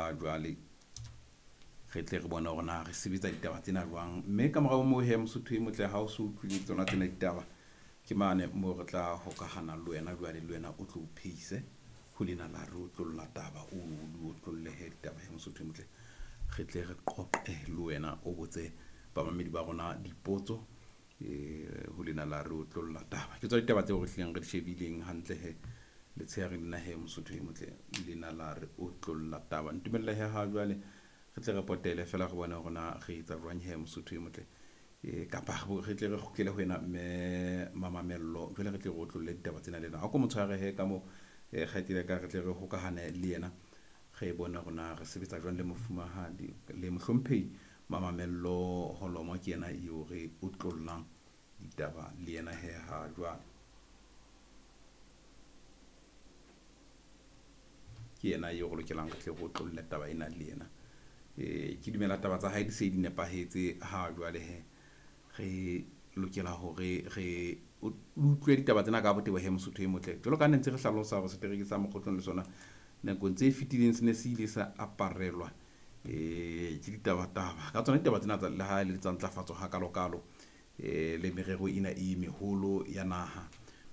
Ha jwale re tle re bone hore na re sebetsa ditaba tsena jwang. Mme ka morao moo he, Mosotho e motle, ha o so utlwile tsona tsena ditaba, ke mane moo re tla hokahana le wena jwale, le wena o tlo o phehise ho lena la re otlolla taba, o di otlolle he ditaba he, Mosotho e motle, re tle re qoqe le wena, o botse bamamedi ba rona dipotso ho lena la re otlolla taba. Ke tsona ditaba tseo re hlileng re di shebileng hantle he letsheare lena he, Mosotho e motle, lena la re otlolla taba. Ntumelle he ha jwale re tle re potele fela re bone hore na re etsa jwang he, Mosotho e motle, kapa re tle re kgutlele ho wena mme Mamamello, jwale re tle re otlolle ditaba tsena le ena. A ko mo tshware he ka mo kgaitsedi ya ka, re tle re hokahane le yena, re bone hore na re sebetsa jwang le mofumahadi le mohlomphehi Mamamello Holomo. Ke yena eo re otlollang ditaba le yena he ha jwale. Ke yena eo re lokelang re tle re otlolle taba ena le yena. Ke dumela taba tsa hae di se di nepahetse ha jwale he. Re lokela hore re utlwe ditaba tsena ka botebo he, Mosotho e motle. Jwalo ka ne ntse re hlalosa hore setereke sa Mokgotlong le sona nakong tse fetileng se ne se ile sa aparelwa ke ditaba-taba ka tsona ditaba tsena tsa le ha e le tsa ntlafatso hakalo-kalo, le merero ena e meholo ya naha,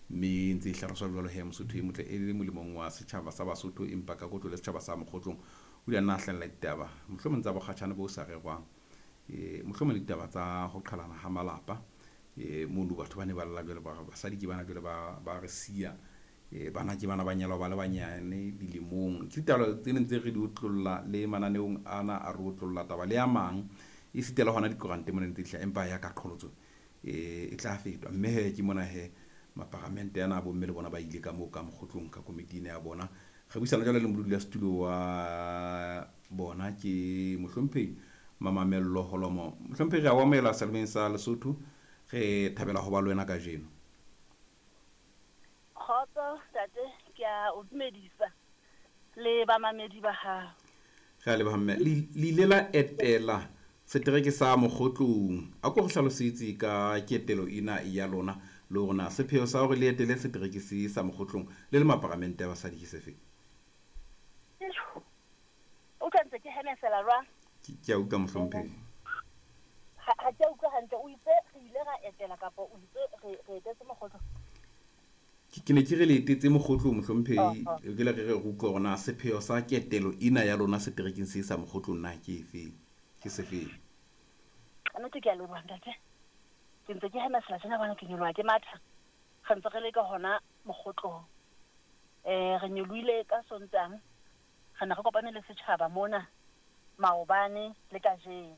mme ntse e hlaloswa jwalo he, Mosotho e motle, e le molemong wa setjhaba sa Basotho, empa ka kotlo le setjhaba sa Mokgotlong o ile a nna a hlahella ditaba mohlomong tsa bokgatjhane bo sa rerwang, mohlomong le ditaba tsa ho qhalana ha malapa, mono batho ba ne ba lla jwale ba re basadi ke bana jwale ba re siya, bana ke bana ba nyalwa ba le banyane dilemong. Ke ditaba tse neng tse re di otlolla le mananeong ana a re otlolla taba le a mang, e sita le hona dikorante mona ntse di hlaha, empa ya ka qholotso e tla fetwa. Mme he ke mona he maparamente ana a bomme le bona ba ile ka moo ka Mokgotlong ka komiti ena ya bona. Re buisana jwale le modulasetulo wa bona, ke mohlomphehi Mamamello Holomo. Mohlomphehi, re a o amohela selemeng sa Lesotho, re thabela ho ba le wena kajeno. Kgotso ntate, ke a o dumedisa le bamamedi ba hao. Re a leboha mme. Le ile la etela setereke sa Mokgotlong. A ko re hlalosetse ka ketelo ena ya lona le hore na sepheo sa hore le etele setereke se sa Mokgotlong le le maparamente a basadi ke sefe? O utlwa ntse ke hemesela jwang? Ke a utlwa mohlomphehi. Ha ke a utlwa hantle, o itse re ile ra etela kapa o itse re etetse Mokgotlong? Ke ne ke re le etetse Mokgotlong, mohlomphehi. Ke le re re utlwe hore na sepheo sa ketelo ena ya lona seterekeng se sa Mokgotlong na ke efe, ke sefeng? Ka nnete ke a leboha ntate. Ke ntse ke hemesela tjena bona ke nyoloha ke matha. Re ntse re le ka hona Mokgotlong. Re nyolohile ka Sontaha. Re ne re kopane le setjhaba mona maobane le kajeno.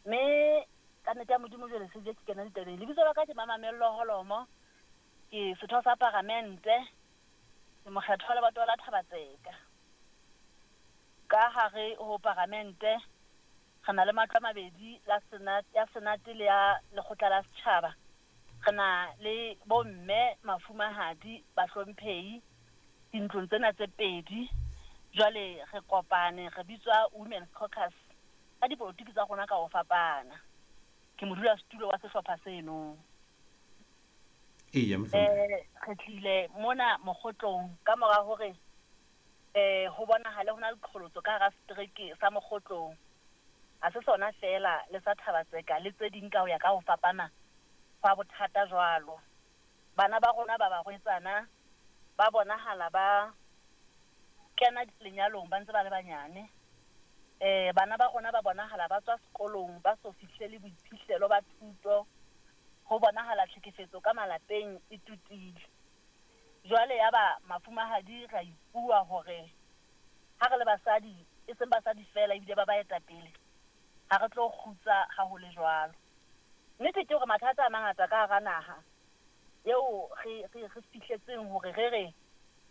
Mme ka nnete ya Modimo jwale se je ke kena ditabeng. Lebitso la ka ke Mamamello Holomo. Ke setho sa paramente, ke mokgetho wa lebatowa la Thabatseka. Ka hare ho paramente re na le matlo a mabedi, la senate, ya senate le ya lekgotla la setjhaba. Re na le bomme, mafumahadi, bahlomphehi dintlong tsena tse pedi. Jwale re kopane, re bitswa Women's Caucus ka dipolotiki tsa rona ka ho fapana. Ke modulasetulo wa sehlopha seno. Eya, mohlomphehi. Re tlile mona Mokgotlong ka mora hore ho bonahale ho na le qholotso ka hara setereke sa Mokgotlong. Ha se sona feela le sa Thabatseka le tse ding ka ho ya ka ho fapana hwa bothata jwalo. Bana ba rona ba barwetsana ba bonahala ba kena lenyalong ba ntse ba le banyane. Bana ba rona ba bonahala ba tswa sekolong ba so fihlele boiphihlelo ba thuto. Ho bonahala tlhekefetso ka malapeng e tutile. Jwale ya ba mafumahadi ra ipua hore ha re le basadi, e seng basadi feela ebile ba baetapele, ha re tlo kgutsa ha ho le jwalo. Nnete ke hore mathata a mangata ka hara naha eo re fihletseng hore re re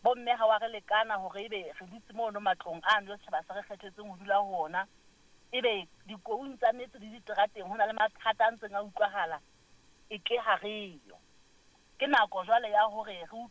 bomme ha wa re lekana hore ebe re dutse mono matlong ano setjhaba se re kgethetseng ho dula ho ona, ebe dikoung tsa metse le diterateng ho na le mathata a ntseng a utlwahala e ke ha re yo. Ke nako jwale ya hore re utlwe